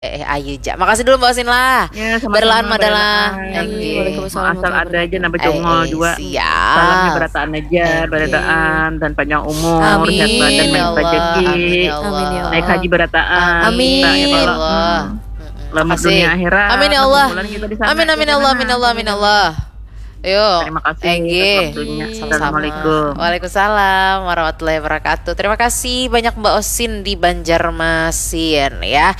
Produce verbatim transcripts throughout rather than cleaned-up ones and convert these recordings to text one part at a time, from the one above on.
Eh, ayu ja. Makasih dulu Mbak Osin lah. Ya, sama-sama, Berlahan madalah. Barataan. Enggih. Waalaikumsalam Asal ada aja nambah Eh, congol eh, juga. Siap. Salamnya barataan aja, Enggih. Barataan dan panjang umur, Amin. sehat badan, Ya banyak Allah. rezeki. Amin ya Allah. Amin ya Allah. Naik haji barataan. Amin. Kita ya Allah. Allah. Hmm. Mm-mm. Selamat Makasih. Dunia akhirat. Amin ya Allah. Bulan kita di sana. Amin amin Kita Allah sana. Amin Allah Amin Allah. Yuk. Terima kasih Enggih. atas waktunya. Sama-sama. Assalamualaikum. Waalaikumsalam warahmatullahi wabarakatuh. Terima kasih banyak Mbak Osin di Banjarmasin ya.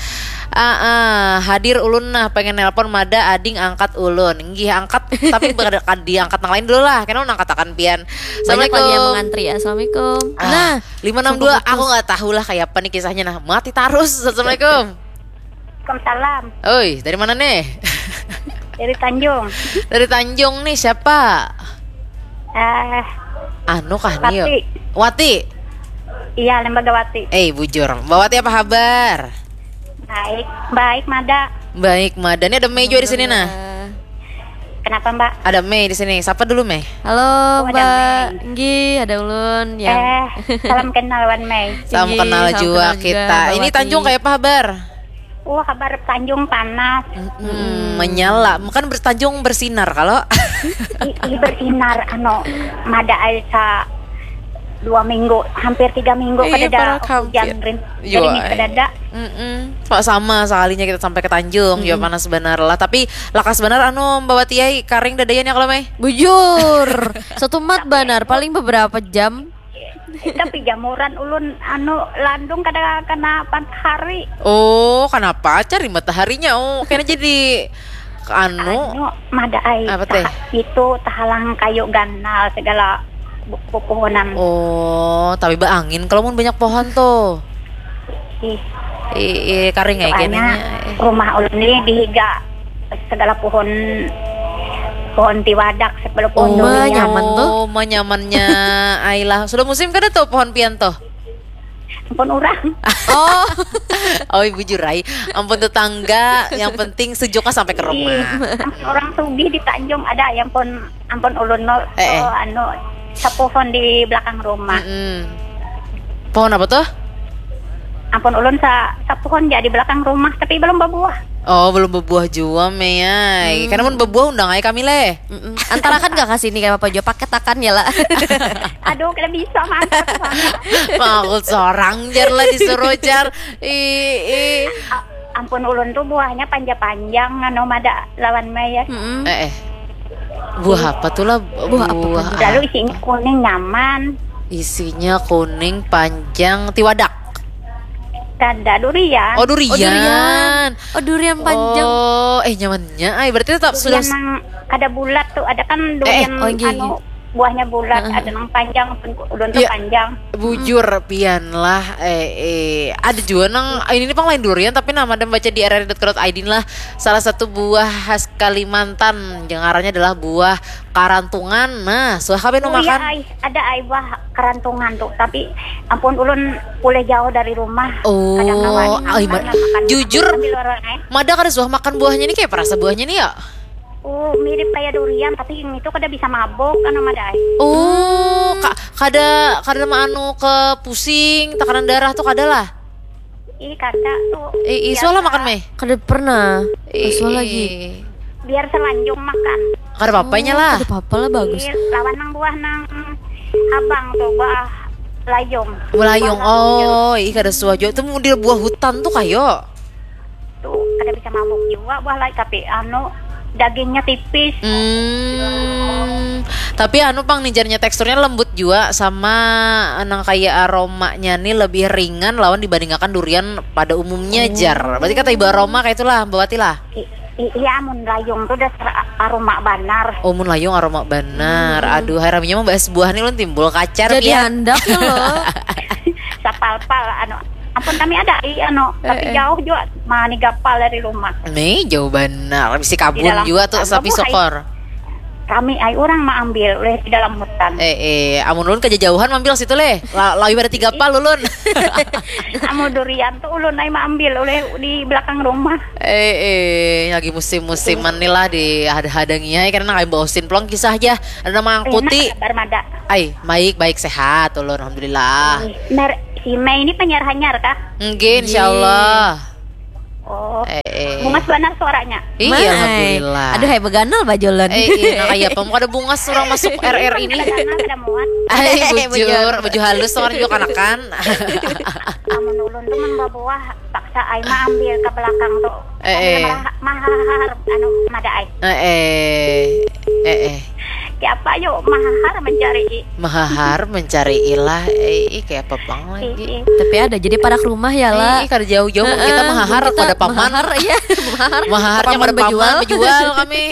Ah, ah, hadir ulun nah, pengen nelpon mada ading angkat ulun. Nggih angkat tapi kada kada diangkat nang lain dulu lah. Kena ulun angkatakan pian. Banyak lagi yang Assalamualaikum. Mengantri. Assalamualaikum. Ah, Nah, lima enam dua sampai aku putus. Nggak tahu lah kayak apa nih kisahnya nah. Mati terus. Assalamualaikum. Waalaikumsalam. Oi, dari mana nih? Dari Tanjung. Dari Tanjung nih siapa? Eh, Anu kah nih? Wati. Wati. Iya, Lembaga Wati. Eh, bujur. Mbak Wati apa kabar? Baik, baik, Mada. Baik, Mada. Ini ada Mei juga di sini nah. Kenapa, Mbak? Ada Mei di sini. Sapa dulu Mei? Halo Oh, ada Mbak Mei. Nggih, ada ulun yang Eh, salam kenal Wan Mei. Salam Tinggi, kenal salam juga kenal juga, kita. Mbak Ini Wati. Tanjung kayak apa kabar? Wah, kabar Tanjung panas. Hmm, menyala. Kan bertanjung bersinar kalau Ih, ih, bersinar, anu, Mada ai sa dua minggu, hampir tiga minggu Iya, kada ada parah, hujan hampir. rin, Iya, gerimis ai. Kada ada. Mm-mm. Pak, sama sekalinya kita sampai ke Tanjung juga panas benar lah. Tapi lakas benar anu Mbak Wati ai, karing dadanya kalau Mei. Bujur. Satu mat banar, paling beberapa jam. Eh, tapi jamuran ulun anu landung kada kena matahari. Oh, kenapa cari mataharinya? Oh, kena jadi anu. Anu, Mada ai. Apa teh? Itu tahalang kayu ganal segala bu- pepohonan. Oh, tapi baangin kalau mun banyak pohon tuh. Ih, Ih, ih, karing ai soalnya kenanya. Rumah ulun ni dihiga segala pohon, pohon tiwadak, segala pohon Oh, durian. Nyaman tuh. Oh, ma nyamannya ai lah. Sudah musim kada tuh pohon pian tuh? Ampun orang. Oh, Oh, bujur ai. Ampun tetangga, yang penting sejuknya sampai ke rumah. Ih, orang sugih di Tanjung ada yang pun ampun ulun no, Eh, eh. Oh, anu sapuhon di belakang rumah. Mm-mm. Pohon apa tuh? Ampun ulun sa sapuhon ja di belakang rumah tapi belum berbuah. Oh, belum berbuah jua, Mei ai. Karena mun berbuah undang ai kami leh. mm-mm. Antarakan gak ke sini kayak apa juga paket akan ya lah. Aduh, kada bisa mantap sana. Mau seorang jar lah disuruh jar. Ih, ih. A- ampun ulun tuh buahnya panjang-panjang anu Mada lawan Mei ya. Mm-mm. Eh, eh. Buah apa tuh lah? Buah apa tuh? Lalu isinya kuning nyaman. Isinya kuning panjang tiwadak. Kada durian. Oh, durian. Oh, durian. Oh, durian panjang. Oh, eh nyamannya. Ay, berarti tetap sudah Durian nang kada bulat tuh, ada kan durian oh, iya, anu buahnya bulat, ada nang panjang, ulun tuh Iya. Panjang. Bujur pian lah. Eh, eh, ada juga nang ini nih pang lain durian tapi nama dan baca di R R I dot co dot I D lah. Salah satu buah khas Kalimantan yang ngarannya adalah buah karantungan. Nah, suah kabeh nu Oh, iya, makan. Ai, ada ai buah karantungan tuh, tapi ampun ulun pulih jauh dari rumah. Oh, Kadang kawan ai, makan, ma- makan, jujur, makan di luar, eh. Mada kada suah makan buahnya nih kayak perasa buahnya nih ya. Oh, mirip kayak durian tapi yang itu kada bisa mabok kan Mada ai. Oh, ka- kada kada anu ke pusing, tekanan darah tuh kada lah. Ih, kada tuh. Eh, Biasa. Suah lah makan Mei. Kada pernah. Eh, Suah lagi. eh. Biar selanjung makan. Kada apa-apanya lah. Tidak apa-apa lah, bagus. Ih, lawan nang buah nang abang tuh, buah layung. Melayung. Buah layung. Oh, ih kada suah juga. Tuh model buah hutan tuh kayo. Tuh, kada bisa mabuk juga buah layung, tapi anu dagingnya tipis. Hmm, tapi anu pang nih jarnya teksturnya lembut juga sama nang kayak aromanya nih lebih ringan lawan dibandingkan durian pada umumnya jar. Berarti kata ibu aroma kayak itulah Mbak Wati lah. I- i- iya, mun layung tuh dasar a- aroma banar. Oh, mun layung aroma banar. Aduh, hai raminya membahas buah nih ulun timbul kacar Jadi pian. Handak ya loh. Sapalpal anu. Ampun kami ada i anu, tapi Eh, eh. Jauh juga mani gapal dari rumah. Nih, jauh banar. Bisi Di kabun dalam juga tuh hutan. sapi Kamu hai- sokor. Kami ai orang maambil oleh di dalam hutan. Eh, eh, amun ulun kaja jauhan mambil situ leh. La- Lawi pada tiga pal ulun. Amun durian tuh ulun ai maambil oleh di belakang rumah. Eh, eh, lagi musim-musiman nih lah di hada-hadanginya ya karena kayak Mbak Osin pulang kisah aja. Ada nama angkuti. Enak kabar Mada. Ai, baik baik sehat ulun alhamdulillah. Mer, si Mei ini penyiar hanyar kah? Nggih, insyaallah. Oh. Eh, eh. Bungas banar suaranya. Iya, alhamdulillah. Aduh, hai beganal bajulun. Eh, iya, nah, kaya apa? Kada bungas orang masuk R R ini. Kada muat. Ai, bujur, baju halus orang juga kanakan. Amun ulun tuh mun babuah paksa ai mah ambil ke belakang tuh. Eh, eh. Mahar, mahar, anu, mada ai. Eh, eh. Eh, eh. Siapa yuk mahar mencari. Mahahar mencari ilah, eh, ih, kayak apa bang lagi. Tapi ada, jadi parak rumah ya lah. Eh, kada jauh-jauh, mun kita mahahar pada paman. Mahahar, iya, mahahar. Mahaharnya pada paman, bejual kami.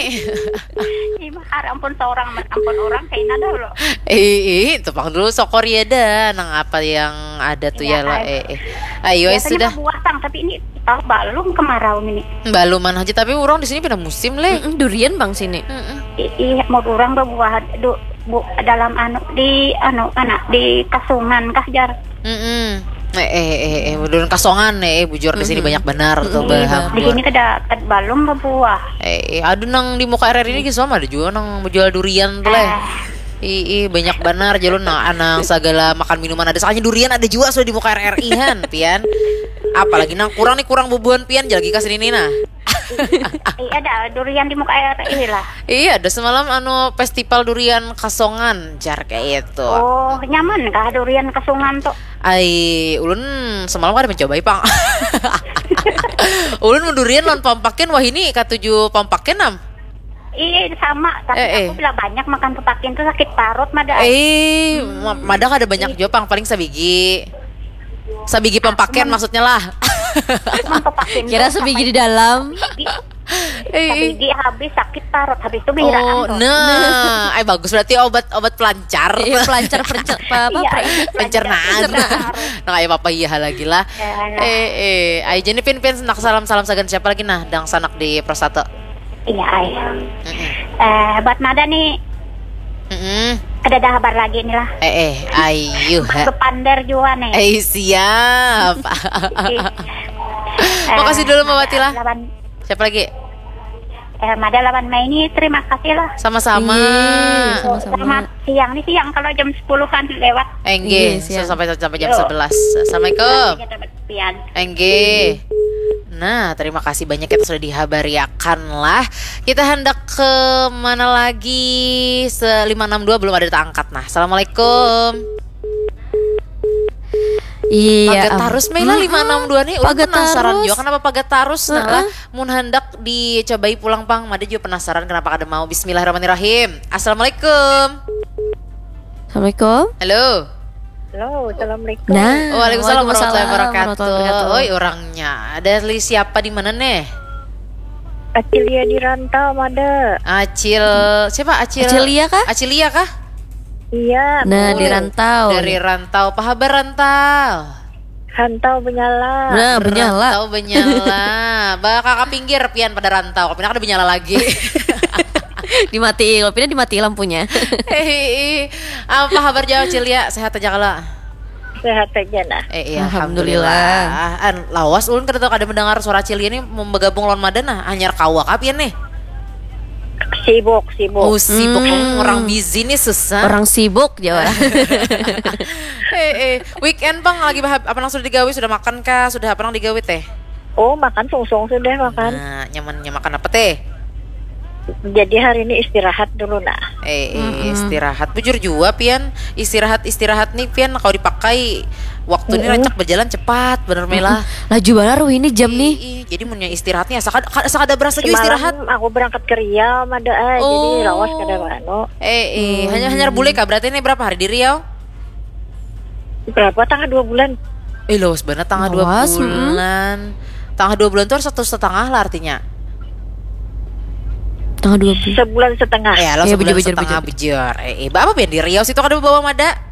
Ih, mahar ampun seorang, ampun orang, kaina dah lo. Eh, eh, tepang dulu sokor ya dah, nang apa yang ada tuh ya lah, eh, eh. Ayo, eh, sudah. Biasanya buah tang, tapi ini tahu balum kemarau ini. Baluman aja, tapi orang di sini pindah musim leh. Mm-mm, durian bang sini. Mm-mm. Ih, mau orang babuah du, bu, dalam anu di anu anak di kasungan kah jar. Mm-mm. Eh, eh, eh, eh, durian kasongan eh, eh, bujur di sini banyak benar tuh baham. Di sini kada, kada balum babuah. Eh, eh, aduh nang di muka R R ini kisah ada juga nang menjual durian tuh leh. Ih, ih, banyak benar jalur nah, anang segala makan minuman ada, soalnya durian ada juga sudah di muka R R I han, pian. Apalagi nang kurang nih, kurang bubuhan pian, jalagi ka sini nih nah. Iya, ada durian di muka air ini lah. Iya, ada semalam anu festival durian kasongan jar kayak itu. Oh, nyaman kah durian kasongan tuh? Ai, ulun semalam kada mencobai pang. Ulun mendurian lawan pampakin, wah ini katuju pampakin am. Iya, sama, tapi eh, eh, aku bila banyak makan pampakin tuh sakit parut mada. Eh, hmm. Ma-, mada kada banyak juga pang, paling sabigi. Sabigi pampakin maksudnya lah. Kira sabigi di dalam. Sabigi habis sakit parut, habis itu bihiraan. Oh, nah, ay bagus berarti obat, obat pelancar. Iya, pelancar, pelancar, apa, iya, pencernaan. Nah, kayak apa iya lagi lah. Eh, eh, ay jadi pin pin nak salam, salam sagan siapa lagi nah, dang sanak di Prostate. Iya, ay. Eh, buat mada nih. Mm-mm. Kada ada kabar lagi nih lah. Eh, eh, ayu. Bepander juga nih. Eh, siap. Makasih dulu Mbak Wati lah. Siapa lagi? Eh, mada lawan Mei ini terima kasih lah. Sama-sama. Iya, sama-sama. Selamat siang nih, siang kalau jam sepuluhan lewat. Enggih, sampai, sampai jam sebelas. Assalamualaikum. Pian. Enggih. Nah, terima kasih banyak kita sudah dihabariakan lah. Kita hendak ke mana lagi? Se-, lima enam dua belum ada terangkat. Nah, assalamualaikum. Iya, pagat tarus Mei lah lima enam dua nih. Ulun penasaran juga kenapa pagat tarus. Nah lah, mun hendak dicobai pulang pang, mada juga penasaran kenapa kada mau. Bismillahirrahmanirrahim. Assalamualaikum. Assalamualaikum. Halo. Halo, assalamualaikum. Nah, waalaikumsalam warahmatullahi wabarakatuh. Oi, orangnya. Ada li siapa di mana nih? Acilia di rantau, mada. Acil, siapa? Acil, Acilia kah? Acilia kah? Iya. Nah, di rantau. Dari rantau, pahabar rantau. Rantau benyala. Nah, benyala. Rantau benyala. Ba, kakak pinggir pian pada rantau. Tapi kada benyala lagi. Dimati, kalau pindah dimati lampunya. Hei, apa kabar jauh Cilia? Sehat aja kalau? Sehat aja nah. Eh, iya, alhamdulillah. Alhamdulillah. An, lawas ulun kada tahu kada mendengar suara Cilia nih mau bergabung lawan Mada nah. Hanyar kawa kah pian nih? Sibuk, sibuk. Oh, sibuk. Hmm. Hmm, orang busy nih susah. Orang sibuk, Jawa. Eh, eh, weekend bang lagi bahap-, apa nang sudah digawi, sudah makan kah, sudah apa nang digawi teh? Oh, makan sungsung sudah makan. Nah, nyamannya makan apa teh? Jadi hari ini istirahat dulu nah. Eh, eh, istirahat. Bujur jua pian. Istirahat, istirahat nih pian kalau dipakai waktu ini rancak berjalan cepat bener Mela. Laju banar wih ini jam nih. Ih, jadi munnya istirahat nih asa kada, asa kada berasa juga istirahat. Semalam aku berangkat ke Riau, Mada, eh, jadi lawas kada anu. Eh, eh, hanya, hanya bule kah? Berarti ini berapa hari di Riau? Berapa? Tangah dua bulan. Eh, lawas banget tangah dua bulan. Tangah dua bulan tuh harus satu setengah lah artinya. Tangah dua bulan. Sebulan setengah. Ya, lawas sebulan setengah bujur. Eh, eh, apa pian di Riau situ kada bawa Mada?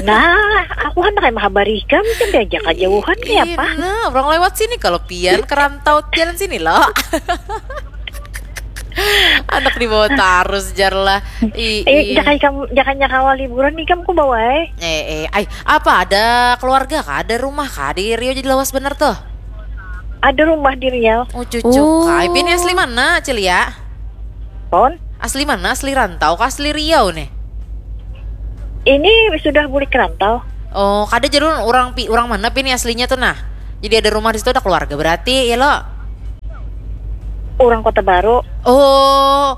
Nah, aku kan pakai mahabar ikam, kan diajak kejauhan kayak apa? Nah, orang lewat sini kalau pian ke rantau jalan sini loh. Anak dibawa tarus jar lah. Eh, jangan kamu, jangan kawa liburan nih kamu bawa eh. Eh, eh, ay, apa ada keluarga kah? Ada rumah kah di Riau jadi lawas bener tuh? Ada rumah di Riau. Oh, cucuk. Oh. Kai, pian asli mana, Cilia? Pon? Asli mana? Asli rantau kah asli Riau nih? Ini sudah bulik rantau. Oh, kada jalur orang pi-, orang mana pian aslinya tuh nah? Jadi ada rumah di situ, ada keluarga berarti ya lo? Orang Kota Baru. Oh,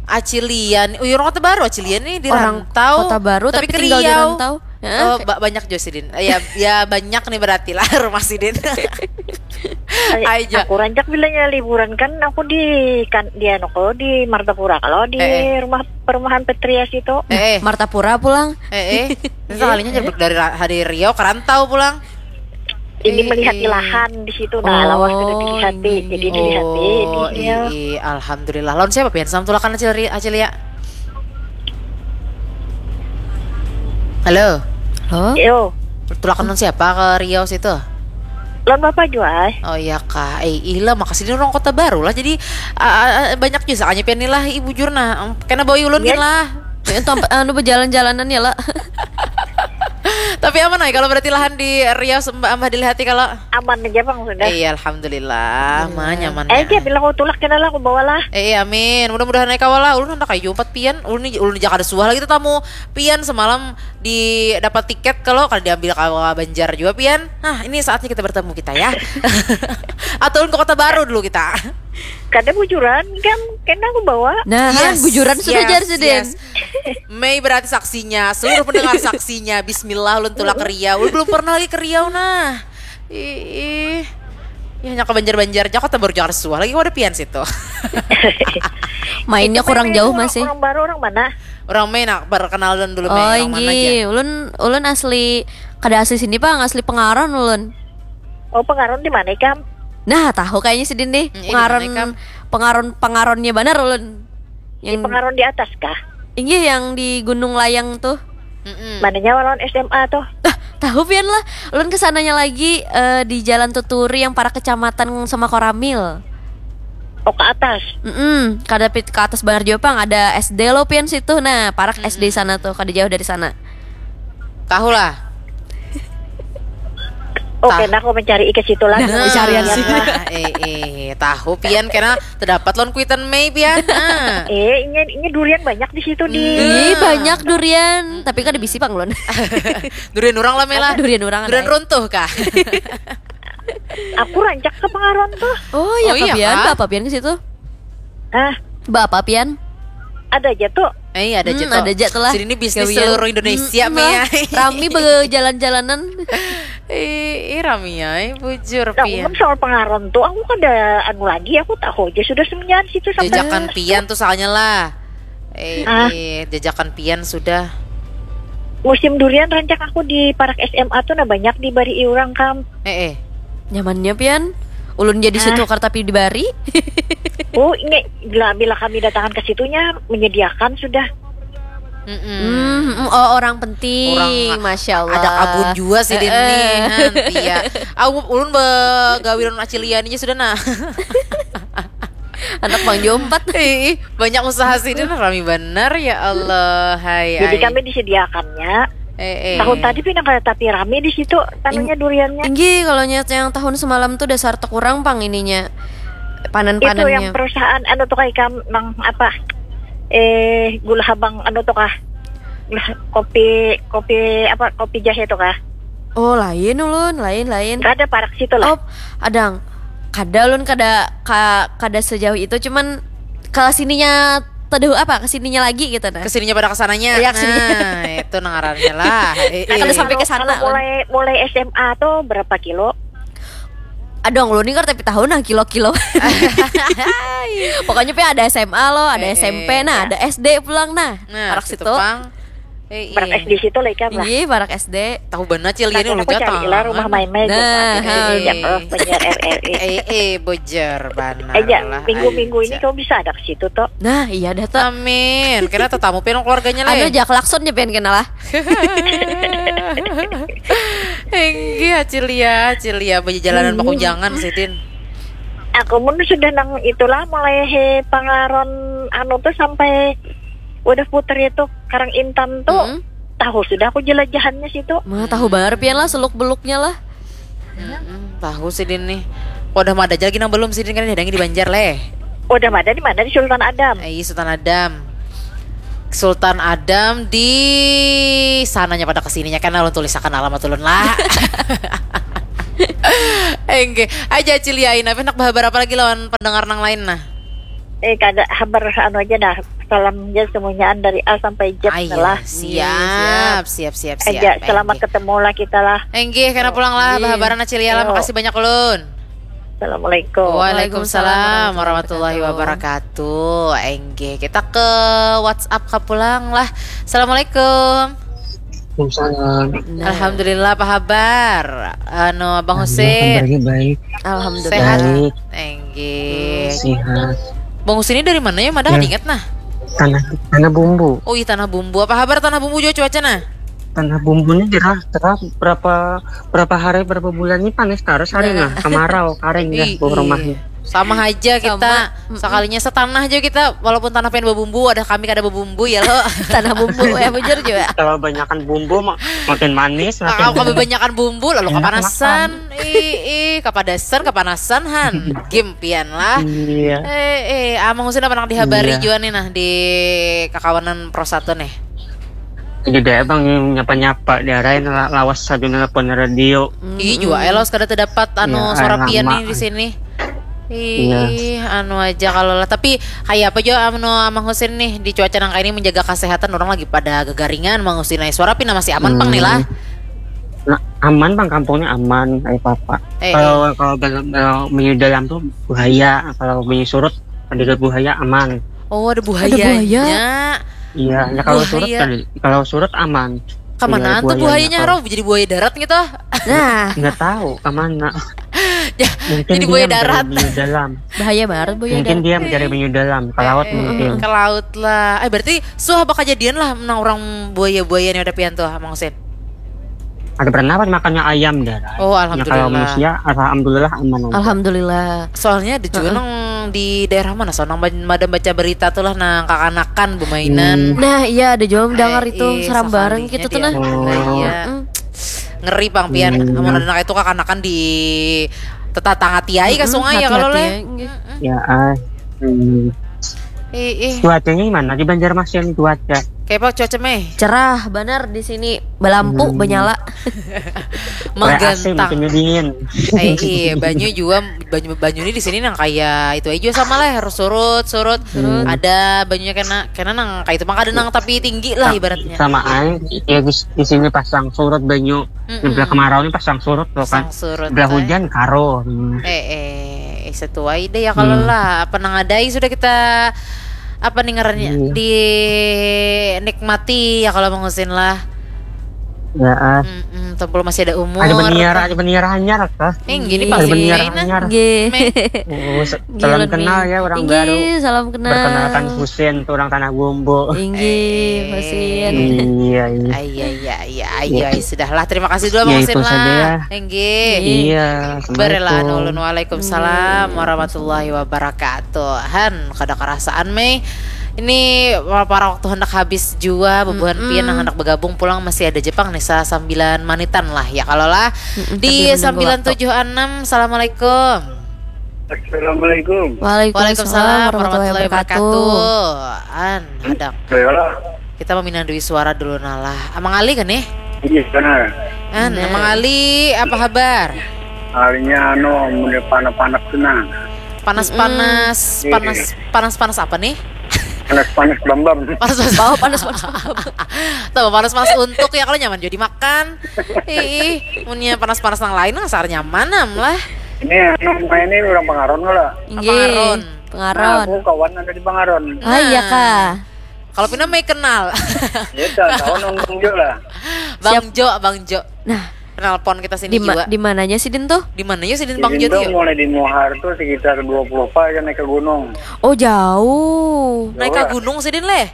Acilian. Oh, orang Kota Baru Acilian nih di orang rantau. Kota Baru tapi, tapi tinggal di rantau. Oh, ba banyak juga sidin. Ya, ya banyak nih berarti lah rumah sidin. Aja. Aku rancak bilanya liburan kan aku di kan di anu kalau di Martapura kalau di eh, eh. rumah perumahan Petria situ. Eh, eh. Martapura pulang. Eh, eh. Sekalinya iya. Dari hari Riau ke rantau pulang. Ini eh, melihat eh. Lahan di situ nah oh, lawas sudah dilihat jadi dilihat oh, iya. Alhamdulillah. Lawan siapa pian sama tulakan Acil Acil ya? Halo. Halo. Yo. Tulakan siapa ke Riau situ? Lawan bapak juga. Oh iya kak. Eh ilah makasih ini orang Kota Baru lah jadi uh, uh, banyak juga sakanya pian lah ibu jurna. Kena bawa ulun ya. Lah. Anu berjalan-jalanan ya lah. Tapi aman ay kalau berarti lahan di Riau sembah amah dilihati kalau aman aja bang sudah. Iya alhamdulillah, hmm. Mah nyaman. Eh ya. Bilang aku tulak kena lah aku bawa lah. Eh iya, amin. Mudah-mudahan naik kawal lah. Ulun hendak kayu empat pian. Ulun ulun jaga suah lagi tetamu pian semalam di dapat tiket kalau kalau diambil kawa Banjar juga pian. Nah ini saatnya kita bertemu kita ya. Atau ulun ke kota baru dulu kita. Kada bujuran kan kena aku bawa. Nah, yes, bujuran sudah yes, jar yes. Mei berarti saksinya, seluruh pendengar saksinya. Bismillah ulun tulak ke Riau. Ulun belum pernah lagi ke Riau nah. Ih. Ya hanya ke Banjar-Banjar aja kota baru Jakarta suah lagi wadah pian situ. Mainnya kurang jauh masih. Orang baru orang mana? Orang Mei nak perkenalan dulu Mei. Oh, orang mana aja? Ulun ulun asli kada asli sini pang, asli Pengaron ulun. Oh, Pengaron di mana ikam? Nah, tahu kayaknya sidin nih. Hmm, pengaron pengaron pengaronnya banar ulun. Yang di pengaron di atas kah? Inggih yang di Gunung Layang tuh. Mm-mm. Mananya lawan S M A tuh? Ah, tahu pian lah. Ulun kesananya lagi uh, di Jalan Tuturi yang para kecamatan sama Koramil. Oh ke atas. Mm -mm. Kada ke atas benar juga pang ada S D lo pian situ. Nah, parak mm -mm. S D sana tuh, kada jauh dari sana. Tahu lah. Oke, nah aku mencari ke situ lagi. Nah, carian sih. Eh, eh, tahu pian karena terdapat lon kuitan Mei pian. Nah. Eh, ini ini durian banyak di situ di. Ini banyak durian, tapi kan ada bisi pang lon. Durian orang lah Mela. Durian orang. Durian runtuh kah? Aku rancak ke Pengaron tuh. Oh, iya, oh, iya pian, apa pian ke situ? Hah? Bapak pian? Ada aja tuh. Eh, ada aja hmm, tuh. Ada aja tuh lah. Sini ini bisnis Gawian. Seluruh Indonesia hmm, ya. Rami berjalan-jalanan. Ih, rami ya, bujur nah, pian. Soal Pengaron tuh aku ada anu lagi, aku tahu aja sudah semenjak situ sama. Jajakan pian tuh soalnya lah. Eh, ah. Eh, jajakan pian sudah. Musim durian rancak aku di parak S M A tuh nah banyak di bari orang kam. Eh, eh. Nyamannya pian. Ulun jadi ah. Situ kartapi di bari. Oh, ini bila bila kami datangan ke situnya menyediakan sudah. Mm -mm. Mm, oh orang penting, orang, masya Allah. Ada kabun juga sih uh, ini, uh. Iya. Aku ulun begawi lawan Acilian aja sudah nah. Anak bang jompat. Ih, banyak usaha sih ini rami benar ya Allah. Hai. Jadi ay. Kami disediakannya. Eh, eh. Tahun tadi pinang kayak tapi rame di situ tanunya duriannya. Tinggi kalau nyata yang tahun semalam tuh dasar kurang pang ininya panen-panennya. Itu yang perusahaan anu tuh kayak nang apa? Eh gula habang anu tuh kah? Kopi kopi apa kopi jahe tuh kah? Oh lain ulun, lain lain. Ada parak situ lah. Oh, adang. Kada ulun kada ka, kada sejauh itu cuman ke sininya teduh apa ke sininya lagi gitu nah. Ke sininya pada kesananya. Iya, ke sininya. Nah, itu nangarannya lah. Eh, nah, eh. Sampai ke sana. Mulai mulai S M A tuh berapa kilo? Aduh, ulun ini tapi tahu nah kilo-kilo. Pokoknya pe ada S M A lo, ada eh, S M P, eh, nah, ya. Ada S D pulang nah. Nah, parak situ. Pang. Eh, parak iya. S D situ lah ikan lah. Iya, parak S D. Tahu benar cil ini ulun jatah. Cari lah rumah main-main. Nah, eh, eh, eh, bojer benar. Eh, ya, minggu-minggu ini kau bisa ada ke situ tuh. Nah, iya dah tuh. Amin. Kena tetamu penong keluarganya lah. Anu aja klakson aja pengen kenal lah. Enggih, Cilia, Cilia bejalanan hmm. Bakujangan sidin. Aku pun sudah nang itulah mulai he pangaron anu tuh sampai udah puter itu Karang Intan tuh hmm. Tahu sudah aku jelajahannya situ. Mah tahu banar pian lah seluk beluknya lah. Hmm, tahu sidin nih. Wadah mada aja lagi nang belum sidin kan ada di Banjar leh. Wadah mada di mana di Sultan Adam. Eh, Sultan Adam. Sultan Adam di sananya pada kesininya kan ulun tulisakan alamat ulun lah. Enggak. Aja Cilia, Ina, hendak berhabar apa lagi lawan pendengar nang lain nah? Eh, kada habar anu aja dah. Salam aja semuanya dari A sampai Z. Ah, iya, lah. Siap, siap, siap, siap. Aja, selamat ketemu lah kita lah. Enggih, kena pulang lah, bahabaran Acilia lah. Makasih banyak ulun. Assalamualaikum. Waalaikumsalam warahmatullahi wabarakatuh. Enggih, kita ke WhatsApp ka pulang lah. Assalamualaikum. Waalaikumsalam. Nah. Alhamdulillah, apa habar? Anu, Abang Husin. Alhamdulillah, kabarnya baik. Alhamdulillah. Sehat. Baik. Enggih. Sehat. Bang Husin ini dari mana ya? Mada kada ingat nah. Tanah, Tanah Bumbu. Oh iya, Tanah Bumbu. Apa habar Tanah Bumbu juga cuaca nah? Tanah Bumbu ini gerah, gerah berapa, berapa hari, berapa bulan ini panas terus hari nah. Kemarau, kering dah. Ih, rumahnya. Sama aja kita. Sama. Mm-mm. Sekalinya setanah aja kita, walaupun tanah pengen berbumbu, ada kami kada berbumbu ya lo. Tanah bumbu, ya bujur juga. Kalau banyakan bumbu mak-, makin manis, makin. Kalau kebanyakan bumbu lalu enak kepanasan. Ih, ih, kapadasan, kapanasan han. Game pian lah. Iya. Eh, eh, Amang Husin apa nang dihabari jua nih nah di kakawanan Pro Satu nih? Jadi deh bang nyapa-nyapa di arah ini la-, lawas saja nelpon radio. Ih, jua elos kada terdapat anu suara pian nih di sini. Ih, anu aja kalau lah. Tapi kayak apa jua anu Amang Husin nih di cuaca nang kayak ini menjaga kesehatan orang lagi pada gegaringan Amang Husin. Nah, suara pina masih aman pang nih lah. Nah, aman bang, kampungnya aman, ayo papa. Eh, kalau eh. Kalau bel-, bel-, bunyi dalam tuh bahaya, kalau bunyi surut ada buaya aman. Oh, ada buaya. Ada buaya. Iya, ya kalau surut kan, kalau surut aman. Kemanaan tuh buayanya, Rob? Jadi buaya darat gitu? Nah. Nggak tahu kemana. Ya, mungkin jadi buaya darat. Bunyi dalam. Bahaya banget buaya darat. Mungkin dia mencari bunyi dalam, ke laut mungkin. Ke laut lah. Eh, berarti suah apa kejadian lah menang orang buaya-buaya nih ada pian tuh, Mang Husin? Ada pernah pas makannya ayam dah. Oh, alhamdulillah. Ya, kalau manusia, alhamdulillah aman aja. Alhamdulillah. Soalnya ada juga nang di daerah mana, so nang madam baca berita tuh lah nang kakanakan bermainan. Nah, iya ada juga mendengar itu seram bareng gitu tuh nah. Iya. Ngeri pang pian. Amun ada nang itu kakanakan di tetangga tiai ke sungai ya kalau leh. Ya ah. Ih, ih. Cuacanya gimana di Banjarmasin cuaca? Kayak apa cuaca meh? Cerah banar di sini, belampu, benyala. Magantang. A C makin dingin. Eh, iya, banyu juga, banyu, banyu ini di sini nang kayak itu aja sama lah, harus surut, surut. Ada banyunya kena, kena nang kayak itu mah kada nang tapi tinggi lah ibaratnya. Sama aja, ya di, di sini pasang surut banyu. Sebelah kemarau ini pasang surut tuh kan. Pasang surut. Sebelah hujan karo. Eh, eh. Eh, sesuai deh ya kalau lah. Apa nang ada sudah kita apa nih ngarannya dinikmati ya kalau Mang Husin lah. Ya ah. Mm-mm, tumpul masih ada umur. Ada beniara, ada beniara hanyar kah? Eh, gini ada beniara hanyar. Nggih. Oh, salam kenal ya orang baru. Salam kenal. Perkenalkan Husin, orang Tanah Bumbu. Inggih, Husin. Iya, iya. Iya, iya, iya, iya, sudah lah. Terima kasih dulu Mang Husin lah. Inggih. Iya. Berela nulun. Waalaikumsalam warahmatullahi wabarakatuh. Han, kada kerasaan mei. Ini para waktu hendak habis jua, bubuhan pian yang hendak bergabung pulang masih ada jepang nih sa-, sambilan manitan lah ya kalau lah. Di sambilan tujuh enam. Assalamualaikum. Assalamualaikum. Waalaikumsalam warahmatullahi wabarakatuh. An, ada. Kita meminang dui suara dulu nalah. Amang Ali kan nih? Iya benar. An, Amang Ali apa kabar? Alinya anu, mulai panas-panas tu nah. Panas-panas, panas, panas-panas apa nih? Panas-panas bambam. Panas-panas. Oh, panas-panas bambam. Tuh, panas-panas untuk ya kalau nyaman jadi makan. Ih, punya panas-panas yang lain ngasar nyaman am lah. Ini anu main ini orang Pangaron lah. Inggih, Pangaron. Nah, aku kawan ada di Pangaron. Ah, iya kah? Kalau pina mei kenal. Ya, dah, kawan orang Bang Jo lah. Bang Jo, Bang Jo. Nah, penelpon kita sini di ma-, juga. Di mananya sidin tuh? Di mananya sidin Bang Jo tuh? Mulai di Muhar tuh sekitar dua puluh pa aja naik ke gunung. Oh, jauh. Naik ke gunung sidin leh?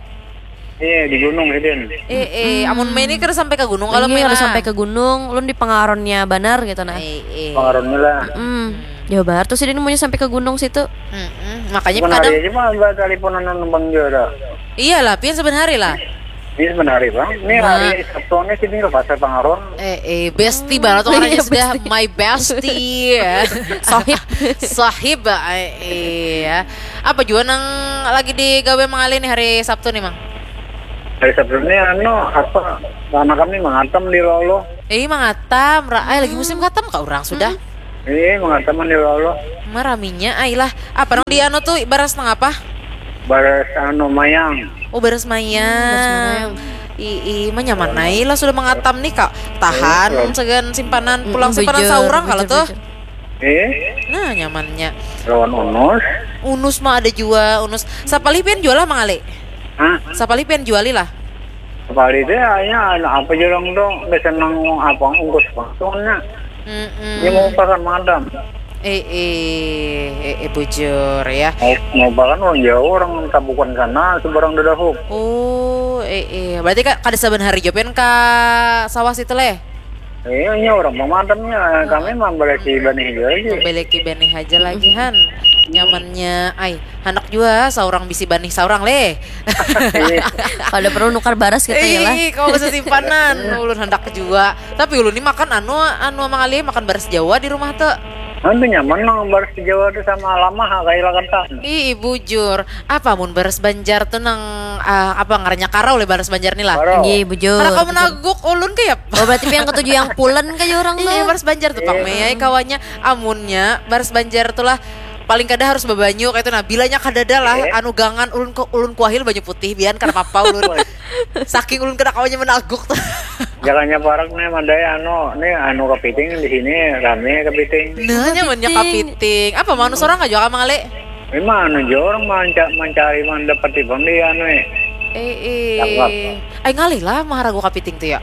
Iya, di gunung sidin. Eh, eh, amun mei ini kada sampai ke gunung kalau mei lah. Sampai ke gunung, ulun di Pangaronnya banar gitu nah. Eh, eh. Pangaronnya lah. Mm. Jauh banget tuh sidin munnya sampai ke gunung situ. Mm-mm. Makanya kadang hari aja mah ada teleponan nang Bang Jo dah. Iyalah, pian saban hari lah. Ini saban hari bang. Ini hari Sabtu nih sini ke pasar Pangaron. Eh, eh, bestie banget tuh orangnya sudah bestie. My bestie. Sohib. Sohib, eh, iya. Apa juga nang lagi digawe Mang Ali nih hari Sabtu nih, Mang? Hari Sabtu ni anu apa, anak kami mangatam di lolo. Eh, mangatam, ra, eh, lagi musim katam ka urang sudah. Eh, mangataman di lolo. Maraminya ai lah. Apa nang di anu tu baras nang apa? Baras anu mayang. Oh, baras mayang. Hmm, baras mayang. Ii, manyaman ai lah sudah mangatam nih kak. Tahan eh, sagan simpanan pulang mm, simpanan saurang kalau tuh. Eh? Nah, nyamannya. Lawan unus. Unus mah ada jua, unus. Sapalih pian jual lah mangali. Hah? Sapalih pian juali lah. Sapalih teh hanya apa jurang dong, udah senang apa ungkus patunnya. Mm-mm. Dia mau pasar madam. Eh, eh, eh, eh, bujur ya. Mau, mau bahkan orang jauh, orang tabukan sana, seberang dadahup. Oh, eh, eh. Berarti kak, kada saban hari jopen ke sawah situ leh? Iya, orang pemadamnya. Kami membeleki banih aja lagi. Membeleki banih aja lagi, Han. Nyamannya, ay, anak juga seorang bisi banih seorang leh. Kalau perlu nukar baras kita ya lah. Ih, kalau bisa simpanan, ulun hendak juga. Tapi ulun ini makan anu, anu mangali makan baras Jawa di rumah tuh. Anu nyaman nang baras Jawa tuh sama lama ha kayak lakan. Ih, bujur. Apa mun baras Banjar tuh nang uh, apa ngarannya karau leh baras Banjar nih lah. Nggih, bujur. Karena kau menaguk ulun kayak Oh, berarti pian ketuju yang pulen kaya orang tuh. Iya, baras Banjar tuh, Pang Mei. Kawannya amunnya baras Banjar tuh lah paling kada harus babanyu kayak itu nah bilanya kadada lah eh? Anu gangan ulun ulun kuahil banyu putih bian karena apa ulun saking ulun kada kawannya menaguk tuh jangannya parak nih mandai anu nih anu kepiting di sini rame kepiting nah nyamannya kepiting apa manus orang aja kamu ngale Memang anu aja orang manca mencari mandapati bang di anu eh. Eh eh. Ay ngalih lah maharagu kapiting tu ya.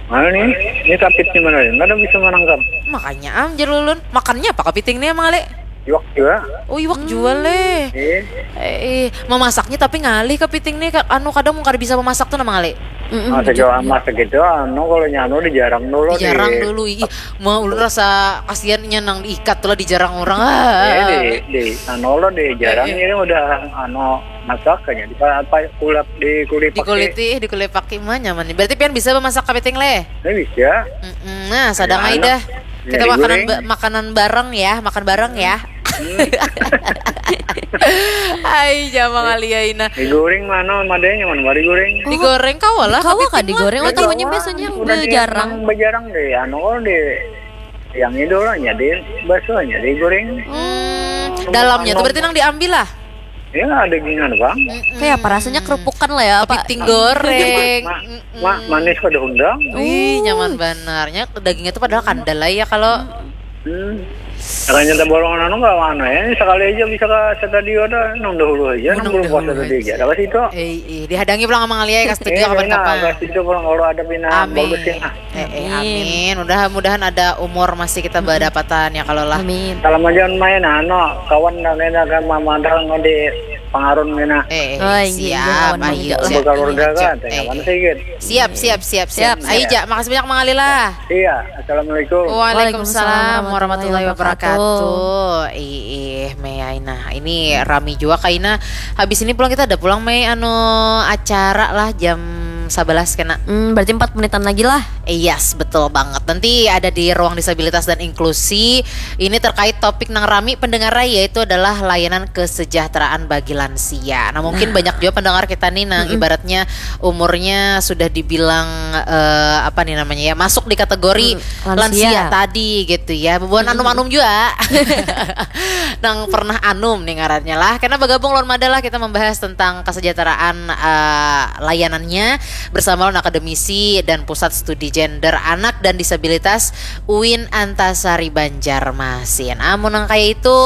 Mana nih? Ini kapit di mana? Mana bisa menangkap? Makanya am ah, jalulun. Makannya apa kapiting nih emang ale? Iwak juga. Oh iwak hmm. juga leh. Eh. Eh, eh. Memasaknya tapi ngalih kapiting nih. Anu kadang mungkin bisa memasak tuh nama ale. Mm -mm, ah, sejauh amat segitu, anu kalau nyanu dijarang dulu. Dijarang di... dulu, ih. Mau ulun rasa kasihannya nang diikat tuh lah dijarang orang. Ah. Eh, di, di, anu lo dijarang eh, eh. ini udah anu masak kayaknya di apa kulap di kulit di kulit ih di kulit pakai mah nyaman nih berarti pian bisa memasak kepiting leh eh, bisa mm -mm. Nah sadang aja dah kita ya, makanan ba makanan bareng ya makan bareng ya Hai jama kali ya Ina. Digoreng mana madanya mana bari goreng. Digoreng kau lah. Kau kan digoreng lah tahunya biasanya udah jarang. Jarang deh anu di yang itu lah jadi bakso nya digoreng. Hmm, dalamnya tuh berarti nang diambil lah. Ya, ada gingan bang. Kayak apa rasanya kerupukan lah ya apa? Kepiting goreng. Ma, ma, manis pada hundang. Wih, nyaman banarnya. Dagingnya tuh padahal kandel lah ya kalau. Hmm. Makanya tabolongan anu nggak mana ya. Sekali aja bisa ke stadion ada nang dahulu aja, nang belum puasa tadi aja. Dapat itu. Eh, eh, dihadangi pulang sama ngaliai ke studio kapan-kapan. Ke situ pulang kalau ada pina. Amin. Eh, eh, amin. Mudah-mudahan ada umur masih kita berdapatan ya kalau lah. Amin. Salam aja main ano kawan dan enak kan mamandang di pengarun mina. Eh, eh, oh, iya, siap. Ayo, siap. Keluarga kan, eh, eh. Siap, siap, siap, siap. Ayo, Jak, makasih banyak Mang Alila. Iya, assalamualaikum. Waalaikumsalam warahmatullahi wabarakatuh. Ih, Mei Aina. Ini rami juga Kaina. Habis ini pulang kita ada pulang Mei anu acara lah jam sebelas kena. Hmm, berarti empat menitan lagi lah. Yes, betul banget. Nanti ada di ruang disabilitas dan inklusi. Ini terkait topik nang rami pendengar yaitu adalah layanan kesejahteraan bagi lansia. Nah, mungkin nah. banyak juga pendengar kita nih nang mm -mm. ibaratnya umurnya sudah dibilang uh, apa nih namanya ya, masuk di kategori mm, lansia. lansia tadi gitu ya. Bubuhan mm. anum-anum juga. nang pernah anum nih ngarannya lah. Karena bergabung lawan Mada lah kita membahas tentang kesejahteraan uh, layanannya bersama lawan akademisi dan pusat studi gender anak dan disabilitas UIN Antasari Banjarmasin. Amun nang kayak itu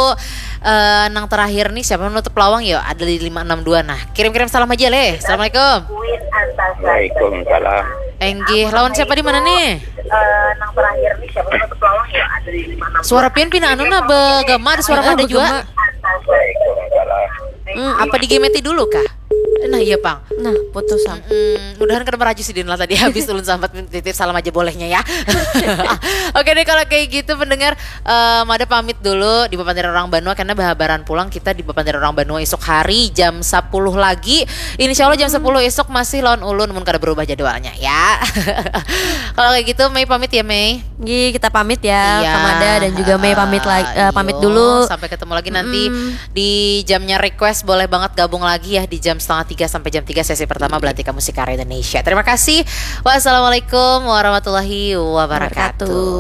uh, nang terakhir nih siapa menutup lawang yo ada di lima enam dua nah kirim-kirim salam aja leh. Assalamualaikum. UIN Antasari. Waalaikumsalam. Enggih, lawan siapa di mana nih? Uh, nang terakhir nih siapa menutup lawang yo ada di lima enam dua. Suara pian pina anu nah begema ada suara ada juga. Waalaikumsalam. Hmm, apa digemeti dulu kah? Nah iya pang. Nah putus am. Mm, mudahan kada meraju sidin lah tadi habis ulun sambat titip salam aja bolehnya ya. Oke deh kalau kayak gitu pendengar um, ada pamit dulu di Bapantiran Orang Banua karena bahabaran pulang kita di Bapantiran Orang Banua esok hari jam sepuluh lagi. Insya Allah jam sepuluh esok masih lawan ulun mun kada berubah jadwalnya ya. Kalau kayak gitu Mei pamit ya Mei. Gi kita pamit ya iya. Kamada dan juga Mei pamit lagi uh, pamit dulu. Sampai ketemu lagi nanti mm. di jamnya request boleh banget gabung lagi ya di jam setengah tiga sampai jam tiga sesi pertama Belantika Musik Karya Indonesia. Terima kasih. Wassalamualaikum warahmatullahi wabarakatuh.